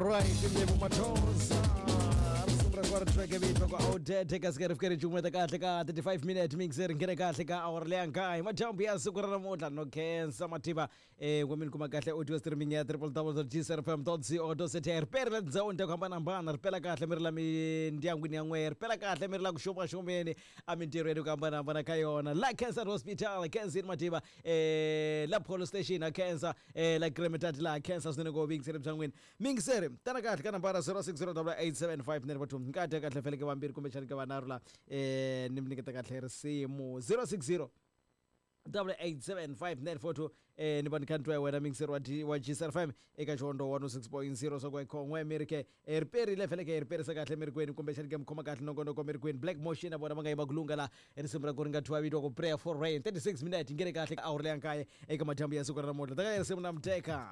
Right, Lebo Mathosa. Risimu ra ku ri track vito ku outdated kasi ka ri fike ri cukumeta kahle ka 35 minute mix ri nghene kahle ka hour leya nkaye madyambu ya siku ra namuntlha no khensa mativa ku mi ni kuma kahle audio streaming ya www.gcrfm.co.za ri peri la tindhawini ta ku hambanahambana ri pela kahle mi ri la mindyangwini ya n'wehe ri pela kahle mi ri la ku xumaxumeni emintirhweni ku hambanahambana ka yona la Cancer Hospital Kensini Mativa la Polo Station ha khensa la Kremetati laha khensa swinene ku vuyingiseri bya n'wina miyingiseri tana kahle ka nambara 0608875942 nka dya kahle feleke vambirhi kumbexani ka vanharhu la ni mi nyiketa kahle risimu 060 8875942 ni va ni kha ni twa wena miyingiseri wa wa GCR5 eka Xihondzo 106.0 swa ku khon'we mi ri ke ri perile feleke ri perisa kahle mirikweni kumbexani ke mi khoma kahle nongonoko mirikweni Black Motion na vona va nga yima ku lunga la risimu ra ku ri nga thyiwa vito ku Prayer for Rain 36 minute ngene kahle ka awuri leya nkaye eka madyambu ya siku ra namuntlha taka risimu na muteka.